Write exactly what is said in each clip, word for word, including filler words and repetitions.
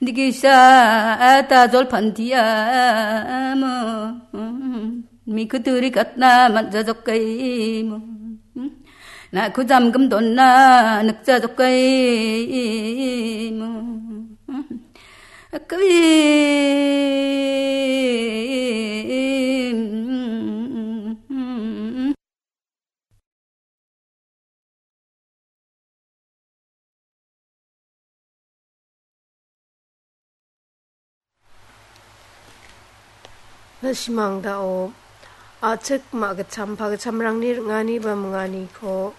Digisa ta jolpan diamo. Mikuturi katna manja jokaimo. Naku jamgam donna nikja jokaimo. Akawim. Na·simang dao a·chik ma·gitcham pagitchamrangni ring·ani ba minganiko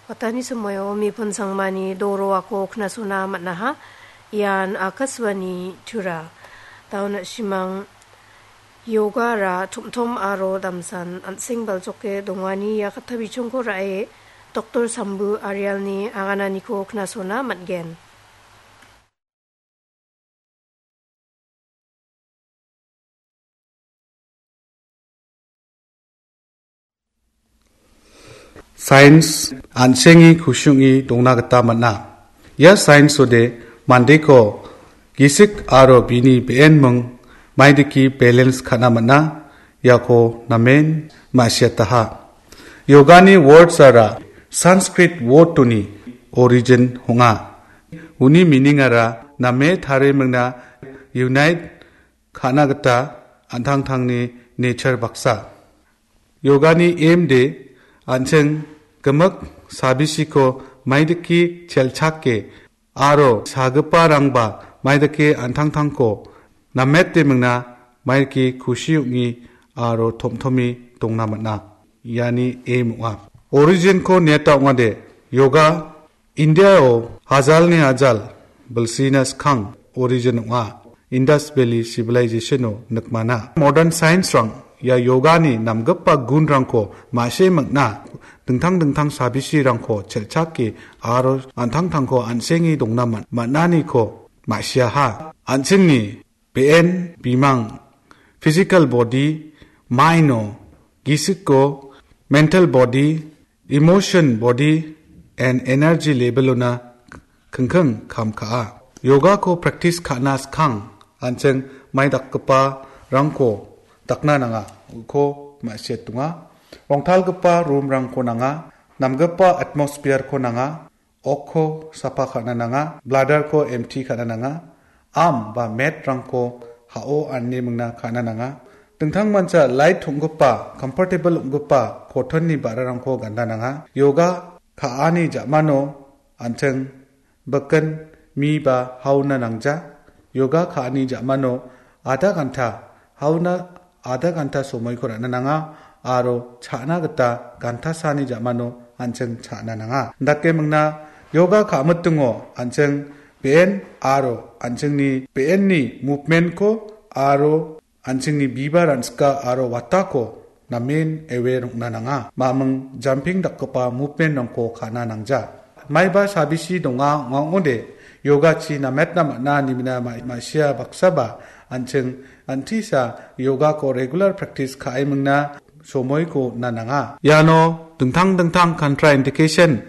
watani somoio mipun sangmani doroako knasona man·aha. Ian Akashvani Tura. Dao na·simang yogara tom·tom aro damsan an·seng baljoke dongani ia katta bichongko ra·e Doktor Sambu Arialni agananiko knasona man·gen. Sains an·sengi kusi ong·e dongna gita man·a. Ia sains ode mandeko gisik aro bini be·en ming maidake balance ka·na man·a, iako namen ma·siataha. Yogani words-ara Sanskrit word-oni origin ong·a. Uni meaning-ara name tarimingna unite ka·na gita an·tangtangni nature baksa. Yogani aim de an·ching gimik sabisiko maidake chelchake aro sagiparangba maidake an·tangtangko namete mingna maidake kusi ong·e aro tom·tome dongna man·a. Iani aim ong·a. Origin-ko niata ong·ade, yoga India-o hajalni hajal bilsina skang origin ong·a. Indus Valley Civilization-o nikmana. Modern science-rang ia yogani namgipa gunrangko ma·sie ming·na, dingtang dingtang sabisirangko chelchake aro an·tangtangko an·senge dongna man-, man·aniko ma·siaha. An·chingni be·en bimang, physical body, mind-o, gisiko, mental body, emotion body and energy level-ona kingking kam ka·a. Yogako practice ka·na skang an·ching mai dakgiparangko dakna nanga, uko ma·siatonga. Rongtalgipa room-rangko nanga, namgipa atmosphere-ko nanga, okko sapa ka·na nanga, bladder-ko empty ka·na nanga, arm ba mat-rangko ha·o ane mingna ka·na nanga. Dingtangmancha light ong·gipa, comfortable ong·gipa cotton-ni ba·rarangko ganda nanga. Yoga ka·ani ja·mano an·ching bikin mi ba hauna nangja. Yoga ka·ani ja·mano adha ganta hauna adha ganta somoiko ra·na nanga aro cha·na gita gantasani ja·mano an·ching cha·na nanga. Indake mingna yoga ka·mitingo an·ching be·en aro an·chingni be·enni movement-ko aro an·chingni biba ransika aro watako namen aware ong·na nanga. Maming jumping dakgipa movement-rangko ka·na nangja. Maiba sabisi donga ong·a ong·ode, yogachi nametna man·a nimina ma-, ma·sia baksaba an·ching antisa yogako regular practice ka·e mingna somoiko on·na nanga. Iano dingtang dingtang contraindication